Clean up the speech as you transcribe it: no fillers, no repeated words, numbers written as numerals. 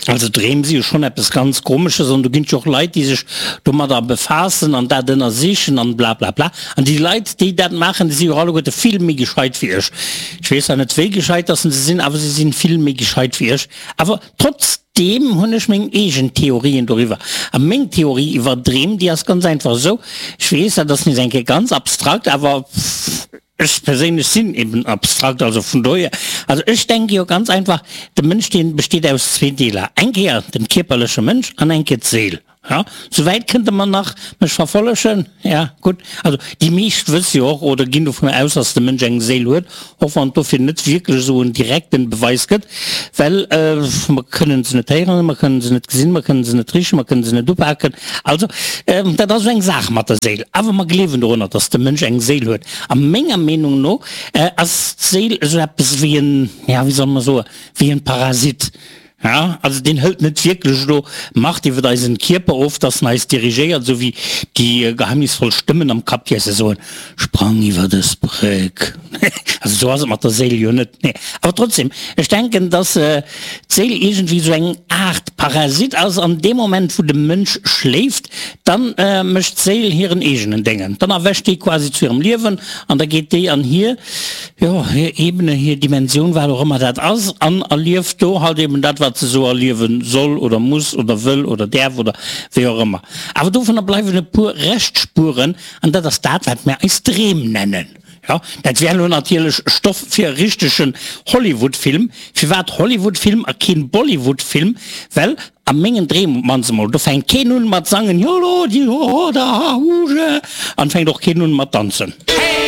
Also Dreem si jo schonn eppes ganz Komesches an do ginn et jo och Leit, déi sech domadder befaassen an dat ënnersichen an blablabla. An déi Leit, déi dat maachen, déi si jo alleguerte vill méi gescheit wéi ech. Ech weess zwar net, wéi gescheit dass se sinn, awer se sinn vill méi gescheit wéi ech. Awer trotzdeem hunn ech meng eegen Theorien doriwwer. A meng Theorie iwwer Dreem, déi ass ganz einfach esou, ech weess, dat ass nees eng Kéier ganz abstrakt, awer Ech perséinlech sinn eben abstrakt, also vun dohier, also ech denke jo ganz einfach, de Mënsch deen besteet aus zwee Deeler, eng Kéier den kierperleche Mënsch an eng Kéier d'Séil. Ja, souwäit kënnt Der mer nach mech verfollegen? Ja, gutt. Also déi meescht wësse jo och oder ginn dovun aus, dass de Mënsch eng Séil huet, och wann et dofir net wierklech esou en direkten Beweis gëtt, well mer kënnen se net héieren, mer kënnen se net gesinn, mer kënnen se net richen, mer kënnen se net upaken. Also dat ass esou eng Saach mat der Séil. Awer mer gleewen dorunner, dass de Mënsch eng Séil huet. A menger Meenung no ass d'Séil esou eppes wéi en, ja wéi soll mer soen, wéi en Parasit. Ja, also deen hëlt net wierklech elo Macht iwwer eisen Kierper of, dass en eis dirigéiert, esou wéi déi geheimnisvoll Stëmmen am Kapp, déi eis soen, Sprang iwwer dës Bréck. Also esou ass et mat der Séil jo net. Nee, awer trotzdem, ech denken, dass d'Séil iergendwéi esou eng Aart Parasit ass an deem Moment, wou de Mënsch schléift, Dann mécht d'Séil hiren eegenen Déngen. Dann erwächt déi quasi zu hirem Liewen an da geet déi an hir, jo, hir Ebene, hir Dimensioun, wat och ëmmer dat ass, an erlieft do halt eben dat, wat se esou erliewe soll oder muss oder wëll oder däerf oder wéi och ëmmer. Awer dovunner bleiwen e puer Reschtspuren an dat ass dat, wat mir eis Dreem nennen. Jo, dat wär elo natierlech Stoff fir e richtegen Hollywood-Film. Firwat Hollywood-Film a keen Bollywood-Film? Well a mengen Dreem op d'mannst emol, do fänkt keen un mat sangen, Jolo, di ho, da ha, hu, je, an fänkt och keen un mat danzen.